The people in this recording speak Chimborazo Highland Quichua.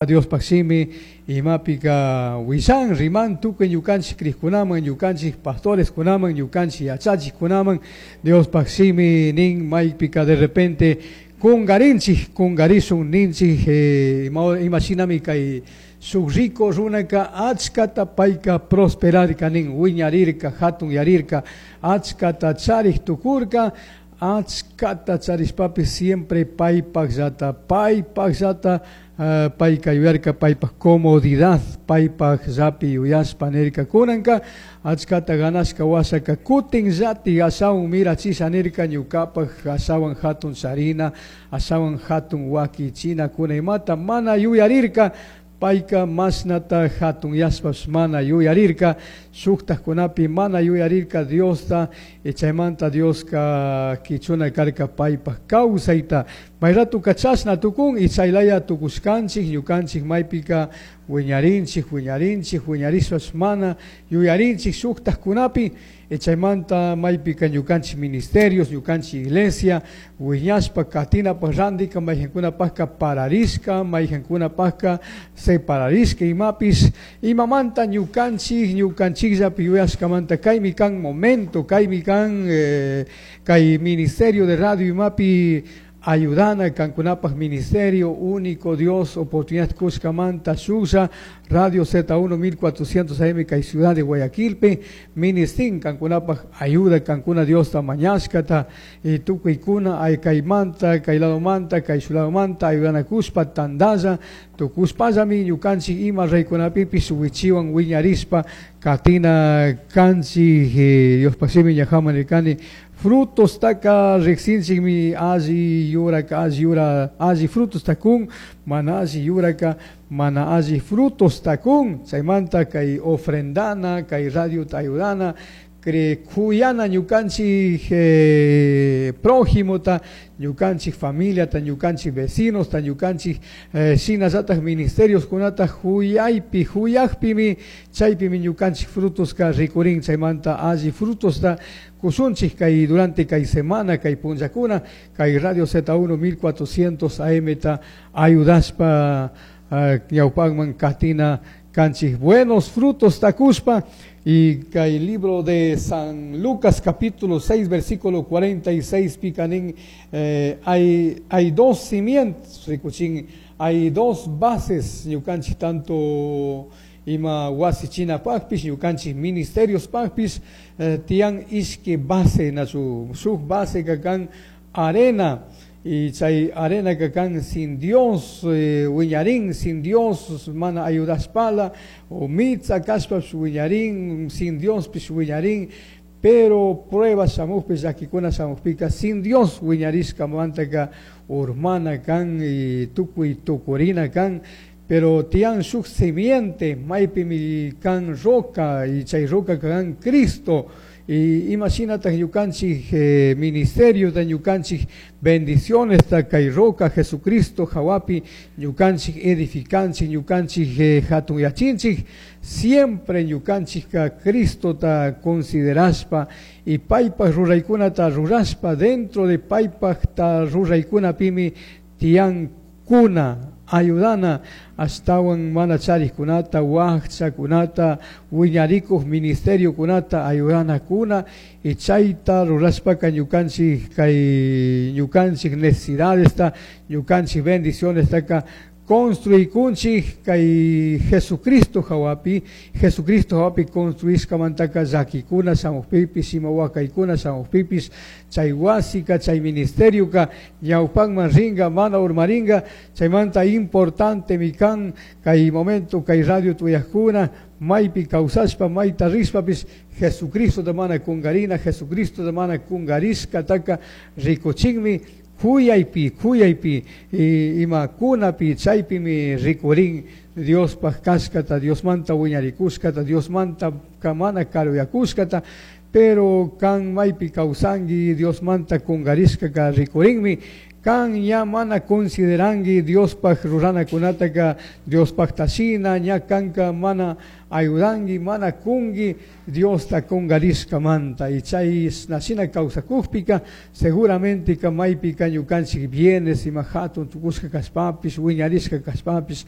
Diospaj shimi imapika willan riman tukuy ñukanchik crijkunaman, ñukanchik pastoreskunaman, ñukanchik yachachikkunaman. Diospaj shimi nin maypika de repente kungarinchik, kungarishun ninchik, ima shinami kay shuk rico runaka achkata payka prosperarka nin, wiñarirka, hatunyarirka, achkata charik tukurka, achkata charishpapish siempre paypajllata, paypajllata payka yuyarka, paypaj comodidad, paypajllapi yuyashpa nirka. Kunanka achkata ganashka washaka kutinllati ashawan mirachisha nirka, ñukapaj ashawan hatun charina, ashawan hatun wakichina kuna imata mana yuyarirka, payka mashnata hatunyashpapish mana yuyarirka, shuktajkunapi mana yuyarirka Diosta, chaymanta Dioska kichuna karka paypaj kawsayta. May ratuka chashna tukun y chaylaya tukushkanchik, ñukanchik maypika wiñarinchik, wiñarinchik, wiñarishpapish mana yuyarinchik shuktajkunapi, chaymanta maypika ñukanchik ministerios, ñukanchik iglesia wiñashpa katinapaj randika mayjankunapajka pararishka, mayjankunapajka separarishka imapish, imamanta ñukanchik, ñukanchikllapi yuyashkamanta kaymi kan momento, kaymi kan kay ministerio de radio imapi ayudana kankunapaj ministerio único Dios oportunidad kushkamanta shuklla Radio Z1 1400 AM kay ciudad de Guayaquilpi ministin kankunapaj ayuda kankuna Diosta mañashkata y tukuykuna ay kaymanta kay ladomanta kay suladomanta ayudanakushpa tandalla tukushpallami ñukanchik ima reykunapipish wichiwan wiñarishpa katina kanchik. Diospaj shimi ñajaman nirkani frutos taka riksinchikmi, alli yuraka alli yura alli frutos takun, mana alli yuraka mana alli frutos takun. Chaymanta kay ofrendana kay radiota ayudana kuyana ñukanchik prójimota, ñukanchik familiata, ñukanchik vecinosta, ñukanchik shinallataj ministerios kunata huyaypi huyakpimi chaypimi ñukanchik frutoska rikurin. Chaymanta alli frutosta kushunchik kay durante kay semana kay punllakuna kay Radio Z1 1400 AM ta ayudashpa ñawpakman katina kanchik buenos frutos takushpa. Y kay libro de San Lucas capítulo 6 versículo 46 picanín, hay dos cimientos, rikuchin, hay dos bases ñukanchik tanto ima wasi chinapajpish ñukanchik ministerios pajpish, tiyan ishki base nachu, shuk base kan arena, y chay arena kan sin Dios, wiñarin, sin Dios mana ayudashpala o mitza kashpapish wiñarin, sin Dios pish wiñarin, pero pruebas shamukpi llakikuna shamukpika sin Dios wiñarishkamantaka urmana kan y tukuy tukurina kan. Pero tiyan shuk simiente maypimi kan roca y chay roca kan Cristo. Y imagínate ñukanchik ministerio de ñukanchik bendiciones ta kay roca Jesucristo hawapi ñukanchik edificanchik ñukanchik hatunyachinchik siempre ñukanchik ka Cristo ta considerashpa y paypaj ruraykunata rurashpa dentro de paypaj ta ruraykunapimi tiyan kuna ayudana ashtawan mana charikkunata wajchakunata wiñarikuj ministerio kunata ayudana kuna y chayta rurashpaka ñukanchik kay ñukanchik necesidadesta ñukanchik bendicionestaka construikunchik kay Jesucristo hawapi. Jesucristo hawapi construishkamantaka llakikuna shamukpipis ima wakaykuna shamukpipis chay wasika chay ministerioka ñawpakman ringa mana urmaringa. Chaymanta importante mi kan kay momento kay radio tuyajkuna maypi kawsashpa mayta rishpapis Jesucristo da mana kungarina, Jesucristo da mana kungarishkataka rikuchinmi kuyaypi, kuyaypi, ima kunapi chaypimi rikurin Diospaj kashkata, Diosmanta wiñarikushkata, Diosmanta mana karuyakushkata, pero kan maypi kawsanki Diosmanta kungarishkaka rikurinmi. Kan ña mana consideranki Diospaj ruranakunataka Diospaj tashina, ña kanka mana ayudanki, mana kunki Diosta kungarishkamanta. Y chay nashina kawsakukpika seguramente ka maypika ñukanchik bienes ima hatun tukushka kashpapish wiñarishka kashpapish